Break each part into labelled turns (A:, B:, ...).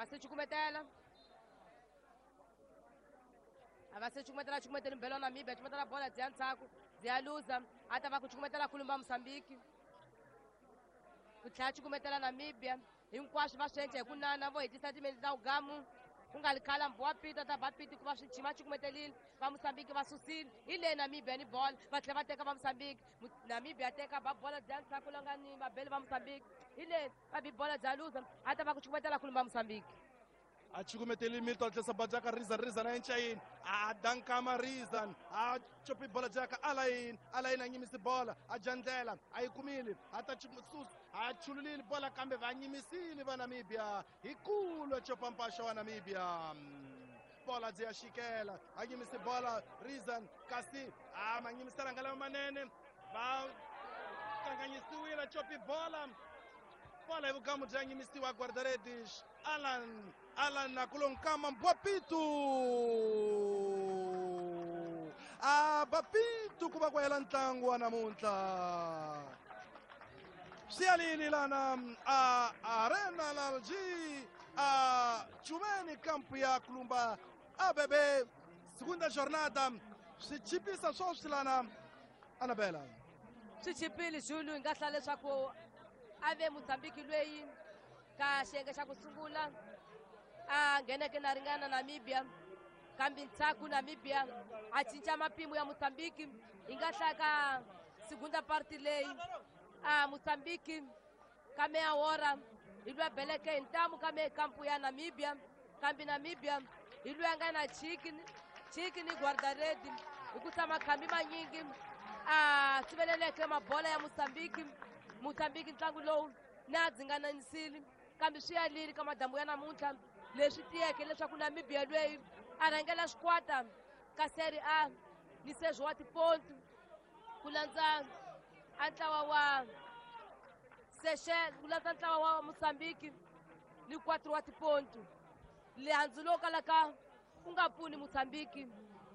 A: A va se cukumetela, a va se cukumetela, cukumetela mbelo wa Namibia, cukumetela bola byi ya ndzhaku, byi ya luza. A ta va ku cukumetela kulumba Mosambiki, ku tlhela cukumetela Namibia. Hinkwaswo va swi endla hi ku nana, vo hetisa timendli ta ugamu ku nga li khala. Mbhuwa pita ta ba piti ku va swi chima, cukumetelile va Mosambiki, va susile. Hi le Namibia ni bola, va tlhela va teka va Mosambiki. Namibia teka ba bola bya ndzhaku la nga ni vabeli va Mosambiki. Hi le va bi bola bya luza, a ta va ku cukumetela kulumba Mosambiki.
B: A cukumeteli Milton, tlhesa bajaka Rizan, Rizan a encayini, a dankama Rizan, a copi bola jaka Alain, Alain a nyimisi bola, a jandlela a yi kumile, a ta sus a chululile bola, kambe va nyimisile va Namibia hi kulo copa mpaxa wa Namibia. Bola byi ya xikela, a nyimisi bola Rizan, kasi a ma nyimisela nga lama manene, va kanganyisiwile. Copi bola, bola hi vugamu bya nyimisiwa guarda-redes Alan, Alan akulonkama Mbwapitu, a Bapitu ku va ku hela ntlangu wa namuntlha. Swi yalini lana a Arena Lalji a Chumeni, kampu ya Kulumba ABB, segunda jornada. Swi chipisa swoswi lana, Anabela.
A: Swi chipile, Julu. Hi nga hlaya leswaku a ve Mozambiki lweyi ka xiyenge xa ku sungula a ngheneke na ringana Namibia, kambe ntshaku Namibia a cinca mapimo ya Mozambiki. Hi nga hlaya ka segunda parti leyi a Mozambiki ka meya wora hi lwa beleke hi ntamu ka me kampu ya Namibia, kambe Namibia hi lwa nga na chiki chiki ni guardaredi hi ku tshama khambi manyingi a siveleleke mabola ya Mozambiki. Mozambiki ntlangu lowu na dzingananisile, kambe swi yalile ka madambu ya namuntlha. Leswi tiyeke leswaku Namibia lweyi a rhangela xikwata ka Serie A ni Sergio wa tipontu, ku landza a ntlawa wa Seychelles, ku landza ntlawa wa Mozambiki ni 4 wa tipontu. Lehandzu lowu kalaka ku nga pfuni Mozambiki,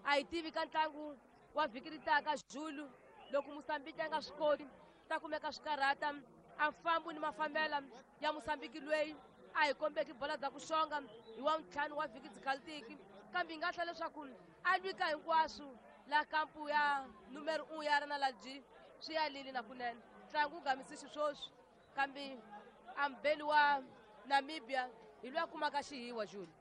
A: a hi tivi ka ntlangu wa vhiki ri taka, Julu, loko Mozambiki a nga swi koti ta kumeka swikarhata. A mfambo ni mafambela ya Mosambiki lweyi a hi kombeki bola bya ku xonga hi wa ntlhanu wa vhiki dzikalitiki, kambe hi nga hlaya leswaku a lwika hinkwaswo la kampu ya numero 1 ya Arena Lalji. Swi yalile na kunene, ntlangu wu gamisi xiswoswi, kambe ambeli wa Namibia hi loyi a kumaka xihiwa, Juli.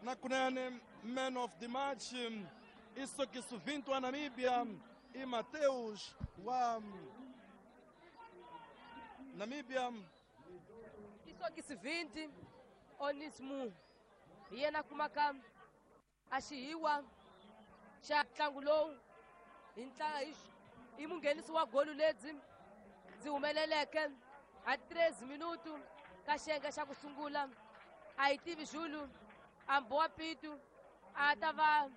B: Na kunene, man of the match i Sokisu 20 wa Namibia, i Mateus wa Namibia.
A: I Sokisi 20 Onismu hi yena kumaka a xihiwa xa ntlangu lowu hi ntla hi munghenisi wa golu lebyi ndzi humeleleke a 3 minutu ka xiyenge xa ku sungula. A hi tivi, Julu, ambowa pitu a ta va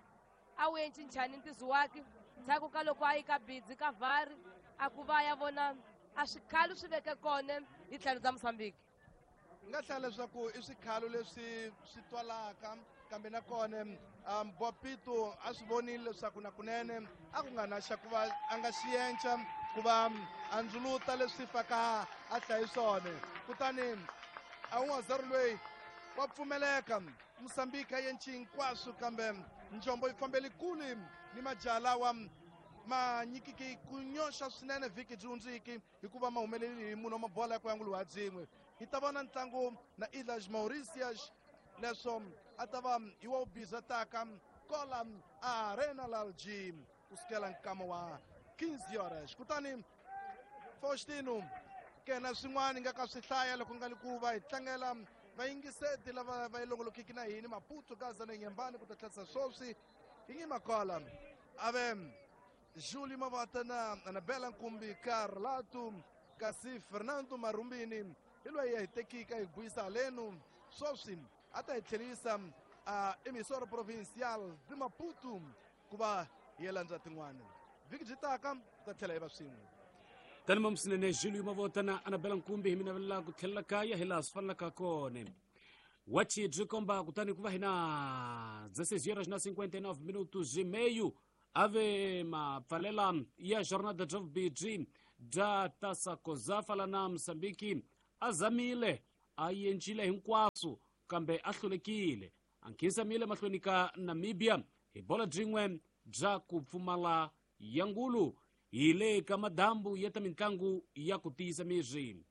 A: a wu enci njhani ntizo wake ndzhaku ka loko a yi ka bidzi ka vhari a ku va ya vona a swikhalo swi veke kona hi tlhelo bya Mosambiki.
B: Hi nga hlaya leswaku i swikhalo leswi swi twalaka, kambe nakona Bopito a swi vonile leswaku na kunene a ku nga na xa ku va a nga xienca ku va a ndzuluta leswi faka a hlayi swona. Kutani a 1-0 loyi wa pfumeleka. Mosambiki a yenci hinkwaswo, kambe njombo yi fambeli kule ni majaha lawa ma nyikiki ku nyoxa swinene vhiki byi hundziki, hikuva ma humeleli hi munhu wa mabola ya ku yanguliwa byin'we. Hi ta vona ntlangu na Ilhas Mauritius, leswo a ta va hi wa wubiza taka kola Arena Lalji kusukela nkama wa 15 horas. Kutani Faustino kena swin'wana nga ka swi hlaya loko nga li ku va hi tlangela vayingiseti lava va yi longolokiki na hini Maputo, Gaza na Nyembani ku ta tlherisa swoswi hi ngi makola ave Júlio Mavata na Anabela Nkumbi Carlato, kasi Fernando Marumbini hi loyi ya hi tekika hi buyisa halenu swoswi a ta hi tlherisa a emissora provincial de Maputo ku va hi ya landza tin'wana. Vhiki byi taka ta tlhela hi va swin'we.
C: Tani mamusinene Julio Mavota na Anabela Nkumbi, hi mi navelela ku tlhelela kaya hi laha swi fanelaka kona. Wachi byi komba kutani ku va hi na 16 horas na 59 minutos e meio. Ave mapfalela ya jornada bya vubidzi bya Taça COSAFA la na Mosambiki a zamile, a yencile hinkwaswo. Kambe a hlulekile, a nkhinsamile mahlweni ka Namibia hi bola byin'we bya ku pfumala ya ngulu. Hi le ka madambu ya ta mitlangu ya ku tiyisa miri.